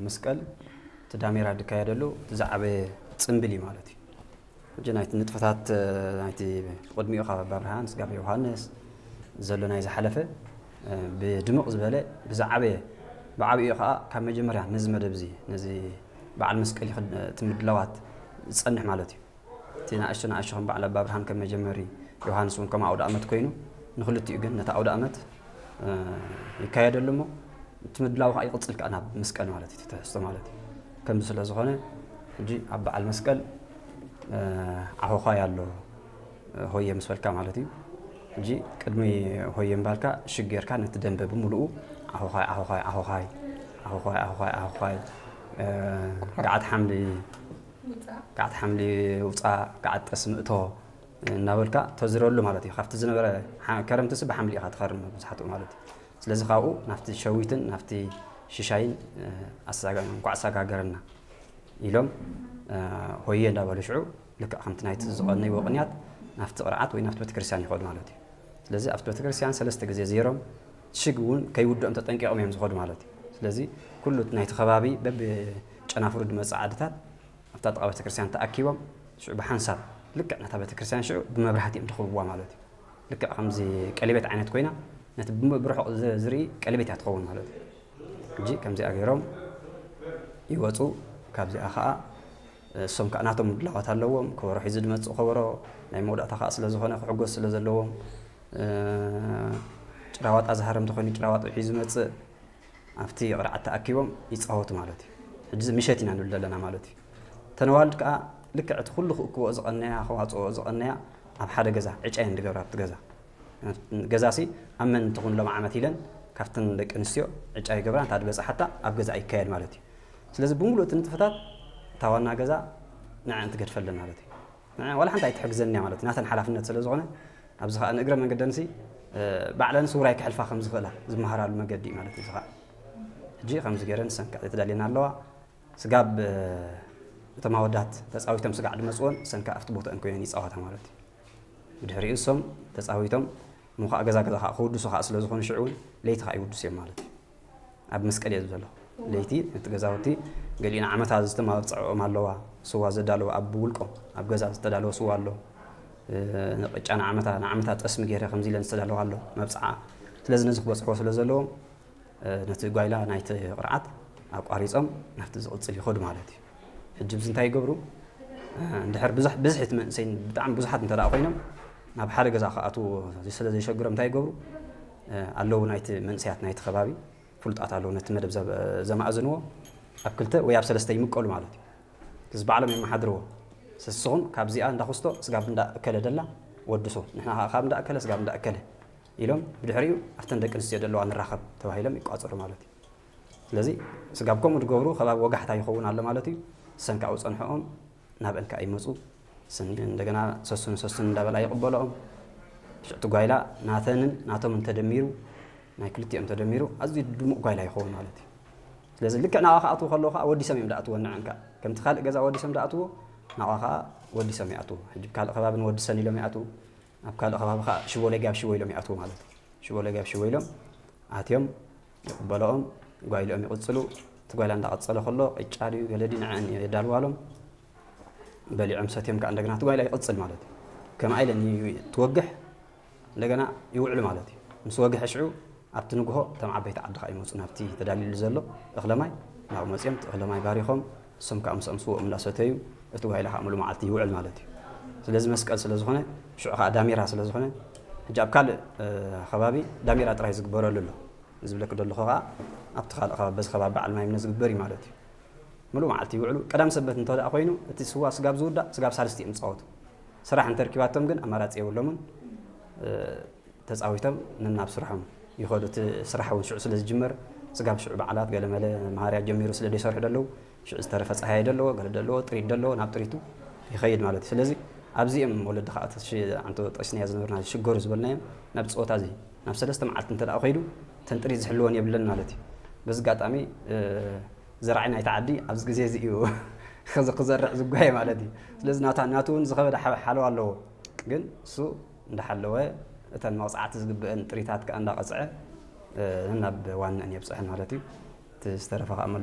መስቀል እቲ ዳሜራ ዝካየደሉ እቲ ዝዓበየ ጽምብል እዩ ማለት እዩ። ሕጂ ናይቲ ንጥፈታት ናይቲ ቅድሚኡ ካብ ኣባ ብርሃን ስጋብ ዮሃንስ ዘሎ ናይ ዝሓለፈ ብድምቕ ዝበለ ብዝዓበየ ብዓብኡ ከዓ ካብ መጀመርያ ነዚ መደብ እዚ ነዚ በዓል መስቀል እቲ ምድላዋት ዝጸንሕ ማለት እዩ። እቲ ንኣሽቱ ንኣሽቱ ከም በዓል ኣባ ብርሃን ከም መጀመሪ ዮሃንስ እውን ከም ኣውደ ኣመት ኮይኑ ንክልቲኡ ግን ነቲ ኣውደ ኣመት ይካየደሉ እሞ እቲ ምድላው ከዓ ይቕፅል ከዓ ናብ መስቀል ማለት እዩ ትሕዝቶ ማለት እዩ። ከምዚ ስለ ዝኾነ ሕጂ ኣብ በዓል መስቀል ዓኾዃይ ኣሎ ሆየ ምስ በልካ ማለት እዩ። ሕጂ ቅድሚ ሆየ ምባልካ ሽግ ጌርካ ነቲ ደንበ ብምሉኡ ዓኾዃይ ዓኾዃይ ዓኾዃይ ዓኾዃይ ዓኾዃይ ዓኾዃይ ገዓት ሓምሊ ገዓት ሓምሊ ውፃእ ገዓት ጠስሚ እቶ እናበልካ ተዝረሉ ማለት እዩ። ካብቲ ዝነበረ ከረምቲ ስ ብሓምሊ ኢኻ ትኸርም ብዙሓትኡ ማለት እዩ። ስለዚ ካብኡ ናብቲ ሸዊትን ናብቲ ሽሻይን እንኳዕ ኣሳጋገረና ኢሎም ሆየ እንዳበሉ ሽዑ ልክዕ ከምቲ ናይቲ ዝቐነይዎ ቅንያት ናብቲ ቅርዓት ወይ ናብቲ ቤተክርስትያን ይኸዱ ማለት እዩ። ስለዚ ኣብቲ ቤተክርስትያን ሰለስተ ግዜ ዜሮም ሽግ እውን ከይውድኦም ተጠንቂቖም እዮም ዝኸዱ ማለት እዩ። ስለዚ ኩሉ ናይቲ ከባቢ በብጨናፍሩ ዝመፅእ ዓድታት ኣብታ ጥቓ ቤተክርስትያን ተኣኪቦም ሽዑ ብሓንሳብ ልክዕ ነታ ቤተክርስትያን ሽዑ ብመብራህቲ እዮም ዝኽብዋ ማለት እዩ። ልክዕ ከምዚ ቀሊቤት ዓይነት ኮይና ነቲ ብርሑቕ ዝርኢ ቀሊቤት እያ ትኸውን ማለት እዩ። ሕጂ ከምዚኣ ገይሮም ይወፁ። ካብዚኣ ከዓ እሶም ከዓ ናቶም ምድላዋት ኣለዎም። ከበሮ ሒዙ ዝመፅእ ከበሮ ናይ መወዳእታ ከዓ ስለ ዝኾነ ክሕጎስ ስለ ዘለዎም ጭራዋጣ ዝሃረም ተኾይኑ ጭራዋጣ ሒዙ ዝመፅእ ኣብቲ ቅርዓት ተኣኪቦም ይፃወቱ ማለት እዩ። ሕጂ ምሸት ኢና ንብል ዘለና ማለት እዩ። ተነዋልድ ከዓ ልክዕ እቲ ኩሉ ክእክቦ ዝቐነያ ክዋፅኦ ዝቐነያ ኣብ ሓደ ገዛ ዕጫ እየን ዝገብራ ኣብቲ ገዛ ገዛሲ ኣብ መን እንትኹን ሎም ዓመት ኢለን ካብተን ደቂ ኣንስትዮ ዕጫ ይገብራ እንታ ዝበፅሓታ ኣብ ገዛ ይካየድ ማለት እዩ። ስለዚ ብምሉእ እቲ ንጥፈታት እታ ዋና ገዛ ንዐን ትገድፈለን ማለት እዩ። ንዐን ዋላ ሓንቲ ኣይትሕግዘን እያ ማለት እዩ። ናተን ሓላፍነት ስለ ዝኾነ ኣብዚ ከዓ ንእግረ መንገደንሲ ባዕለን ስውራይ ክሕልፋ ከም ዝኽእላ ዝመሃራሉ መገዲ እዩ ማለት እዩ። እዚ ከዓ ሕጂ ከምዚ ገይረን ንሰን ከዓ ተዳልየን ኣለዋ። ስጋብ እቶም ኣወዳት ተፃዊቶም ስጋዕ ዝመፅዎን ንሰን ከዓ ኣብቲ ቦታአን ኮይነን ይፃወታ ማለት እዩ። ብድሕሪኡ እሶም ተፃዊቶም እሞ ከዓ ገዛ ገዛ ከዓ ክውድሱ ከዓ ስለ ዝኾኑ ሽዑ እውን ለይቲ ከዓ ይውድሱ እዮም ማለት እዩ። ኣብ መስቀል እየ ዝብል ዘለኹ። ለይቲ እቲ ገዛውቲ ገሊኡ ንዓመታ ዝተማብፅዐኦም ኣለዋ። ስዋ ዘዳለወ ኣብ ውልቆም ኣብ ገዛ ዝተዳለወ ስዋ ኣሎ። ንቅጫ ንዓመታ ንዓመታ ጠስሚ ገይረ ከምዚ ኢለን ዝተዳለዋ ኣሎ መብፅዓ። ስለዚ ነዚ ክበፅሕዎ ስለ ዘለዎም ነቲ ጓይላ ናይቲ ቅርዓት ኣቋሪፆም ናብቲ ዝቕፅል ይኸዱ ማለት እዩ። ሕጂ ብዚ እንታይ ይገብሩ? እንድሕር ብዙሕ ብዝሒ እቲ መንእሰይ ብጣዕሚ ብዙሓት እንተ ደኣ ኮይኖም ናብ ሓደ ገዛ ክኣትዉ ስለ ዘይሸግሮም እንታይ ይገብሩ? ኣለዉ ናይቲ መንእሰያት ናይቲ ከባቢ ፍሉጣት ኣለዉ ነቲ መደብ ዘማእዝንዎ ኣብ ክልተ ወይ ኣብ ሰለስተ ይምቀሉ ማለት እዩ። እዚ ባዕሎም የመሓድርዎ። ንስኹም ካብዚኣ እንዳ ኩስቶ ስጋብ እንዳ እከለ ደላ ወድሶ ንሕና ከዓ ካብ እንዳ እከለ ስጋብ እንዳ እከለ ኢሎም ብድሕሪኡ ኣብተን ደቂ ኣንስትዮ ዘለዋ ንራኸብ ተባሂሎም ይቋፀሩ ማለት እዩ። ስለዚ ስጋብ ከምኡ ዝገብሩ ከባቢ ወጋሕታ ይኸውን ኣሎ ማለት እዩ። ሰን ካብኡ ፀንሕኦም ናብአን ከዓ ይመፁ። ሰን እንደገና ሰሱን ሰሱን እንዳበላ ይቕበለኦም። ሽዕቲ ጓይላ ናተንን ናቶም እንተደሚሩ ናይ ክልቲኦም ተደሚሩ ኣዝዩ ድሙቕ ጓይላ ይኸውን ማለት እዩ። ስለዚ ልክዕ ናብኣ ክኣትዉ ከለዉ ከዓ ወዲሶም እዮም ዝኣትዎ ንዐን ከዓ ከምቲ ካልእ ገዛ ወዲሶም ዝኣትዎ ናብኣ ከዓ ወዲሶም ይኣትዉ። ሕጂ ካልእ ከባቢ ንወድሰን ኢሎም ይኣትዉ። ኣብ ካልእ ከባቢ ከዓ ሽቦ ለጊ ኣብ ሽቦ ኢሎም ይኣትዉ ማለት እዩ። ሽቦ ለጊ ኣብ ሽቦ ኢሎም ኣትዮም ይቕበለኦም ጓይልኦም ይቕፅሉ። እቲ ጓይላ እንዳቐፀለ ከሎ ቅጫ ድዩ ገለ ድዩ ንዐን የዳልዋሎም። በሊዖም ሰትዮም ከዓ እንደገና እቲ ጓይላ ይቕፅል ማለት እዩ። ከምኣ ኢለን ትወግሕ እንደገና ይውዕሉ ማለት እዩ። ምስ ወግሐ ሽዑ ኣብቲ ንግሆ እቶም ዓበይቲ ዓዲ ከዓ ይመፁ ናብቲ ተዳልዩሉ ዘሎ እኽለማይ ናብኡ መፅኦም እቲ እኽለማይ ባሪኾም እሶም ከዓ ምስኦም ስዎም እንዳሰተዩ እቲ ጓይላ ከዓ ሙሉ መዓልቲ ይውዕል ማለት እዩ። ስለዚ መስቀል ስለ ዝኾነ ሽዑ ከዓ ዳሜራ ስለ ዝኾነ ሕጂ ኣብ ካልእ ከባቢ ዳሜራ ጥራይ ዝግበረሉ ኣሎ። ዝብለክ ደለኹ ከዓ ኣብቲ ካልእ ከባቢ በዚ ከባቢ በዓል ማይምነ ዝግበር እዩ ማለት እዩ። ሙሉ መዓልቲ ይውዕሉ። ቀዳም ሰበት እንተ ደኣ ኮይኑ እቲ ስዋ ስጋብ ዝውዳእ ስጋብ ሳልስቲ እዮም ዝፃወቱ። ስራሕ እንተርኪባቶም ግን ኣማራፂ የብሎምን። ተፃዊቶም ነናብ ስርሖም ይኸዱ። እቲ ስራሕ እውን ሽዑ ስለ ዝጅመር ስጋብ ሽዑ በዓላት ገለመለ መሃርያ ጀሚሩ ስለ ዘይሰርሑ ደለዉ ሽዑ ዝተረፈ ፀሃየ ደለዎ ገለ ደለዎ ጥሪት ደለዎ ናብ ጥሪቱ ይኸይድ ማለት እዩ። ስለዚ ኣብዚኦም ወለዲ ከዓ ዓንቶ ጠስንያ ዝነበርና ዝሽገሩ ዝበልናዮም ናብ ፀወታ እዚ ናብ ሰለስተ መዓልቲ እንተ ደኣ ከይዱ ተን ጥሪት ዝሕልወን የብለን ማለት እዩ። በዚ ኣጋጣሚ ዘራዒ ናይቲ ዓዲ ኣብዚ ግዜ እዚ እዩ ክዘርዕ ዝጓየ ማለት እዩ። ስለዚ ናቱ እውን ዝኸበደ ሓለዋ ኣለዎ። ግን እሱ እንዳሓለወ እተን መቕፃዕቲ ዝግብአን ጥሪታት ከዓ እንዳቐፅዐ ናብ ዋንአን የብፅሐን ማለት እዩ። እቲ ዝተረፈ ከዓ መሎ